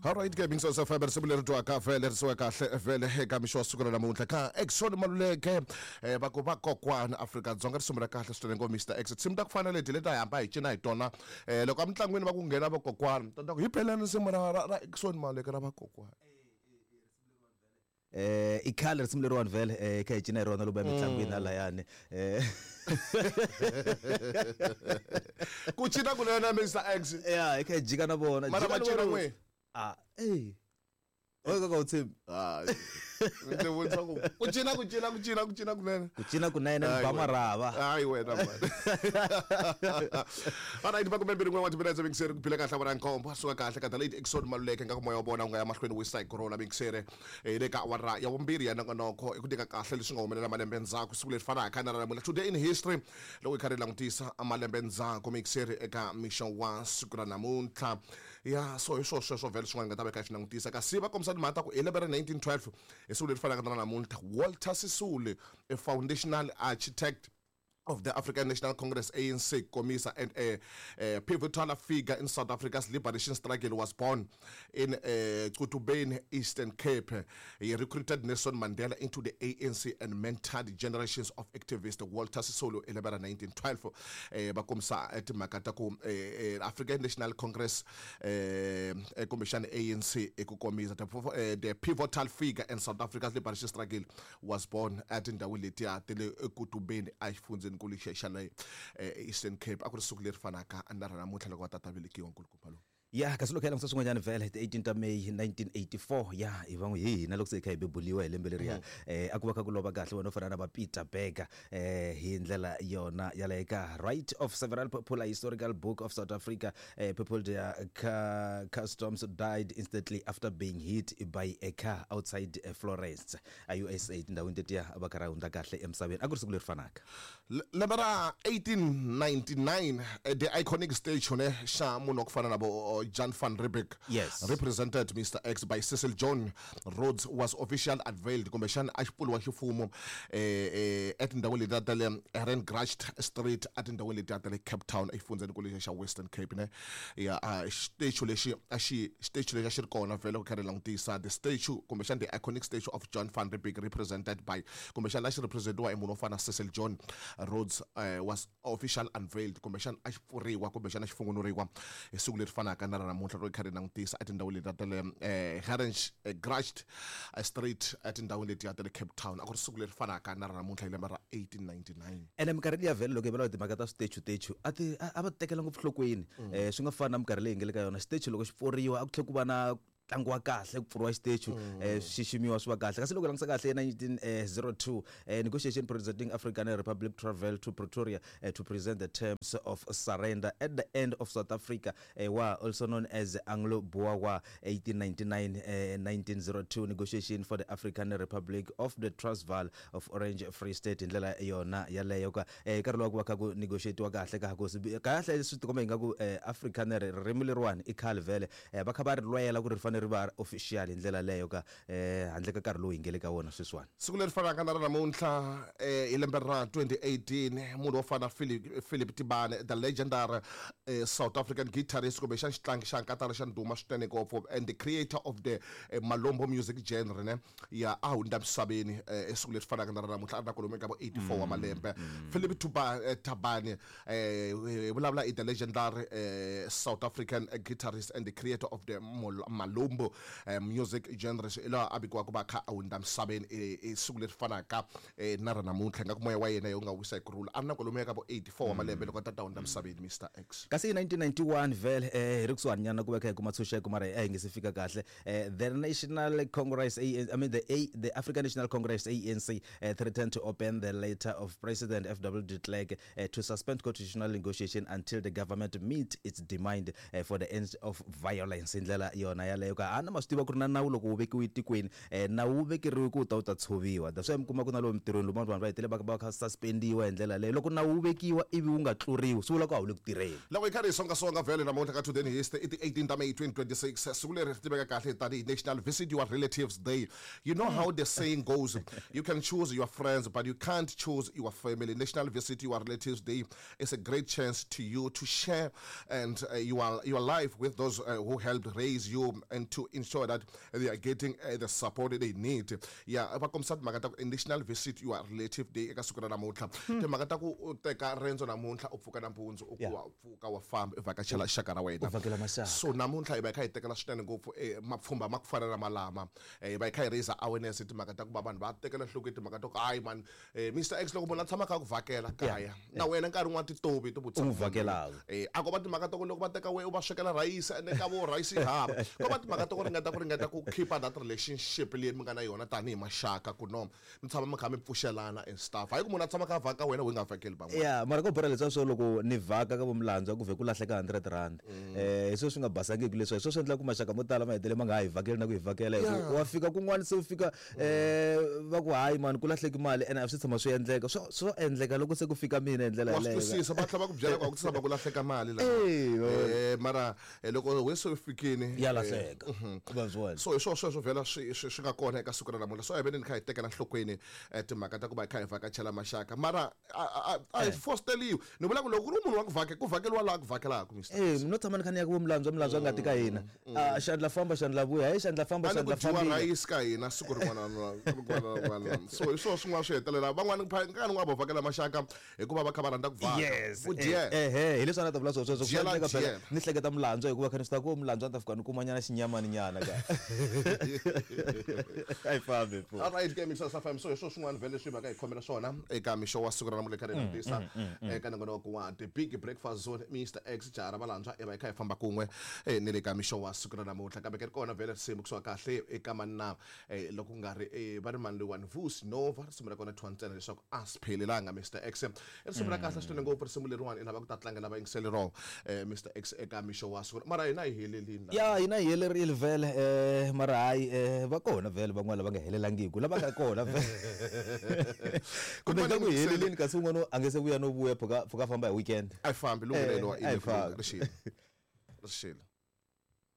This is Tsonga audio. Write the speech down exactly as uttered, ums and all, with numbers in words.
Alright ke Mingso F M risimu leri twaka vhele risiwa kahle vhele eka mixo wa siku ra namuntlha ka Exxon Maluleke eh va ku va kokwana Afrika-Dzonga risimu ra kahle swinene ngo Mister X tinsimu ta ku fana leti leti a hi hamba hi cina hi tona eh loko emitlangwini va ku nghena vakokwana ta ku hi phelani risimu ra ra ra Exxon Maluleke ra vakokwana eh i khale risimu leriwani vhele eh kha hi cina hi rona loko ya mitlangwini halayani eh ku cina kunene Mister X ya hi kha hi jika na vona mara jika va na cina vona. n'we ah eh oyo kaka u tshembi hayi ndzi vutisa ku ku cina ku cina ku cina ku cina kunene ku cina kunene Hayi ba wena. marhava hayi wena mani alright makume mbirhi n'we wa timinetse mixere ku phila kahle vona nkombo suka kahle ka the late Exxon Maluleke nga ku moya wa vona wu nga ya mahlweni wisa hi corona mixere hi le ka awara ya vumbirhi ya nongonoko i ku nyika kahle leswi nga humelela malembe ndzhaku siku leri fanaka na ra namuntlha today in history loko hi karhi hi langutisa malembe ndzhaku mixere eka mixo wa siku ra namuntlha ya so hi swo sweswo vhele swin'wana hi nga ta veka hi swi langutisa kasi va kombisa timhaka ta ku hi lembe ra nineteen twelve hi siku leri fanaka na ra namuntlha Walter Sisulu a foundational architect of the African National Congress A N C Comisa and a, a pivotal figure in South Africa's liberation struggle was born in uh, Qutubeni, Eastern Cape. He recruited Nelson Mandela into the A N C and mentored generations of activists. Walter Sisulu in nineteen twelve eh va kombisa timhaka ta ku eh, African National Congress eh kumbexana A N C eku komisa the, eh, the pivotal figure in South Africa's liberation struggle was born at tindhawu letiya ta le Qutubeni exifundzeni nkulu xa le Eastern Cape a ku ri siku leri fanaka na ra namuntlha loko va tata velekiwa nkulukumba lowu ya kasi loko hi langutisa swin'wanyana vhele ti eighteen ta May nineteen eighty-four ya hi van'we hi hina loko se hi kha hi bebuliwa hi lembe leriya eh a ku va kha ku lova kahle wena u fana na va Peter Berger eh hi ndlela yona yaleyo ka right of several popular historical book of South Africa eh people their ca customs died instantly after being hit by a car outside eh, Florence a U S A tindhawini tetiya va karhi hundza kahle emisaveni a ku ri siku leri fanaka lembe ra eighteen ninety-nine eh, the iconic statue ne xa munhu wa ku fana na vo Jan van Riebeeck Yes. represented Mister X by Cecil John Rhodes was officially unveiled kumbexana a xi pfuriwa ximfumo eh eh etindhawini letiya ta le Herengracht Street etindhawini letiya ta le Cape Town exifundzeni xa Western Cape ne ya a statue lexi a xi statue lexi a xi ri kona vhele ku karhi langutisa the statue kumbexana the iconic statue of John van Riebeeck represented by kumbexana a xi representiwa hi munhu wo fana na Cecil John Rhodes uh, was official unveiled kumbexana a xi pfuriwa kumbexana xi fungunuriwa hi siku leri fanaka na ra namuntlha ro karhi langutisa etindhawini letiya ta le eh, Herengracht Street etindhawini letiya ta le Cape Town a ku ri siku leri fanaka na ra namuntlha hi lembe ra eighteen ninety-nine ene minkarhi liya vhele loko hi vulavula timhaka ta switechu techu a ti a va tekela ngopfu nhlokweni eh swi nga fani na minkarhi leyi hi nga le ka yona xitechu loko xi pfuriwa a ku tlhela ku va na ntlangu wa kahle ku pfuriwa xitechu eh xi xiximiwa swi va kahle kasi loko hi langutisa kahle nineteen oh two eh negotiation presenting African Republic travel to Pretoria eh, to present the terms of surrender at the end of South Africa eh, war also known as Anglo-Boer War eighteen ninety-nine eh, nineteen oh two negotiation for the African Republic of the Transvaal of Orange Free State hi ndlela yona yaleyo ka eh nkarhi lowu ku va kha ku negotiatiwa kahle ka ku kahle swi tikomba ingaku eh, African ririmi leriwani i khale vhele eh, va kha va ri lwela ku ri fanele ri va official hi ndlela leyo ka eh handle ka nkarhi lowu hi nge le ka wona sweswiwani siku leri fanaka na ra namuntlha eh hi lembe ra twenty eighteen munhu wo fana Philip Philip Tibane the legendary eh, South African guitarist kumbexana xitlangi xa nkatara xa ndhuma swinene ngopfu and the creator of the eh, Malombo music genre ne ya a hundza misaveni eh siku leri fanaka na ra namuntlha a ri na kwalomu ka vo eighty-four wa malembe Philip Tuba eh, Tabane eh vulavula i the legendary eh, South African guitarist and the creator of the Malombo eh, music genre laha a vikiwa ku va kha a hundza misaveni eh, siku leri fanaka eh, na ra namuntlha nga ku moya wa yena yo nga wisa hi kurhula a ri na kwalomu ka vo eighty-four wa malembe loko a tata hundza misaveni Mister X kasi hi nineteen ninety-one vhele eh hi ri kusuhani nyana ku va kha hi kuma tshunxeko mara a hi nge se fika kahle eh, the National Congress A N, I mean the A, the African National Congress A N C eh, threatened to open the letter of President F W de Klerk eh, to suspend constitutional negotiation until the government meet its demand eh, for the end of violence hi ndlela yona yaleyo ka a na ma swi tiva ku ri na nawu loko wu vekiwe etikweni eh, nawu wu vekeriwe ku wu ta wu ta tshoviwa that's why mi kuma ku na lomu mitirhweni lomu vanhu va hetelela va va kha suspendiwa hi ndlela leyo loko nawu wu vekiwa ivi wu nga tluriwi swi vula ku a wu le ku tirheni loko hi karhi hi songasonga vhele namuntlha ka Today in History i ti eighteen ta May twenty twenty-six siku leri ri tiveka kahle tanihi National Visit Your Relatives Day. You know how the saying goes, you can choose your friends but you can't choose your family. National Visit Your Relatives Day is a great chance to you to share and uh, your, your life with those uh, who helped raise you and and to ensure that they are getting uh, the support they need. Yeah, va kombisa timhaka ta ku additional visit your relative day eka siku ra namuntlha. Timhaka ta ku u teka rendzo namuntlha u pfuka nampundzu u ku wa pfuka wa famba u vhakachela xaka ra wena. U vhakela maxaka. So namuntlha hi va hi kha hi tekela swinene ngopfu eh, mapfhumba ma ku fana na malama eh, hi va hi kha hi raise awareness hi timhaka ta ku va vanhu va tekela nhlokweni timhaka ta ku hayi man eh, Mister X loko munhu a tshama kha ku vhakela kaya na wena nkarhi wun'wana titovi to U n'wi vhakelaka. Eh, a ko va timhaka ta ku loko va teka we u va swekela rhayisi ene ka vo rhayisi yi hava ko va timhaka ta ku ringeta ku ringeta ku keep that relationship leyi mi nga na yona tanihi maxaka ku no mi tshama mi kha mi pfuxelana and stuff hayi ku munhu a tshama kha a vhaka wena u nga vhakeli van'wana. Ya mara ko bora leswiya swo loko ni vhaka ka vo Milandzu ku vhe ku lahleka hundred rand eh hi swo swi nga basangiki leswiya hi swo swi endla ku maxaka mo tala ma hetelele ma nga ha hi vhakeli na ku hi vhakela hi ku wa fika kun'wana se u fika eh va ku hayi mani ku lahleki mali ene a swi tshama swi endleka swo swo endleka loko se ku fika mina hi ndlela wa swi yaleyo twisisa va tlhela va ku byela ku a ku tshama ku lahleka mali la Eh, eh mara eh, loko we se u fikini ya eh, lahleka va swi vona so hi swona sweswo vhela swi swi swi nga kona eka siku ra namuntlha so a hi veni ni kha hi tekela nhlokweni eh, timhaka ta ku va hi kha hi vhakachela maxaka mara a a- a hi fosteriwi ni vula ku loko ku ri munhu wa ku vhake ku vhakeliwa laha ku vhakelaka Mister Eh no tshama ni kha ni ya ku vo Milandzu Milandzu a nga ti ka hina a xandla famba xandla vuya hayi xandla famba a ni ku xandla dyiwa fambile rhayisi ka hina siku rin'wana na rin'wana na rin'wana so hi swona swin'wana swi hetelela van'wani nkarhi wun'wana va vhakela maxaka hikuva va kha va rhandza ku vhaka yes ku dyela ehe hi leswi a ni ta vula swona sweswo swi Dyela, endleka phela dyela. ni hleketa Milandzu hikuva kha ni swi ta ku Milandzu a ni ta fika ni kuma nyana xinyamani nyana ka a yi fambi pfu All right, ke Mixer F M so hi swona swin'wana vhele leswi hi va ka hi khomela swona eka mixo wa siku ra namuntlha kha ri tisa eka nongonoko wa The Big Breakfast Zone Mister X jaha ra Valandzwa i va hi kha hi famba kun'we eh, ni le ka mixo wa siku ra namuntlha kambe ke ri kona vhele risimu kusuka kahle eka manna eh, loko ku nga ri eh, va ri mani loyiwani Vusi Nova risimu ra kona thiwa ntsena leswaku a swi phelelanga Mister X i risimu ra kahle swinene ngopfu risimu leriwani i lava ku ta tlangela vayingiseli rona eh, Mister X eka mixo wa siku mara hina hi helelini la ya hina hi helerile vhele eh mara hayi eh va kona vhele van'wana lava nga helelangiku lava nga kona vhele kumbe Good ka ku morning, heleleni kasi un'wana a nge se vuya no vuya pfuka pfuka famba hi weekend a yi fambi lunghelo Eh, a yi fambi. rixile rixile.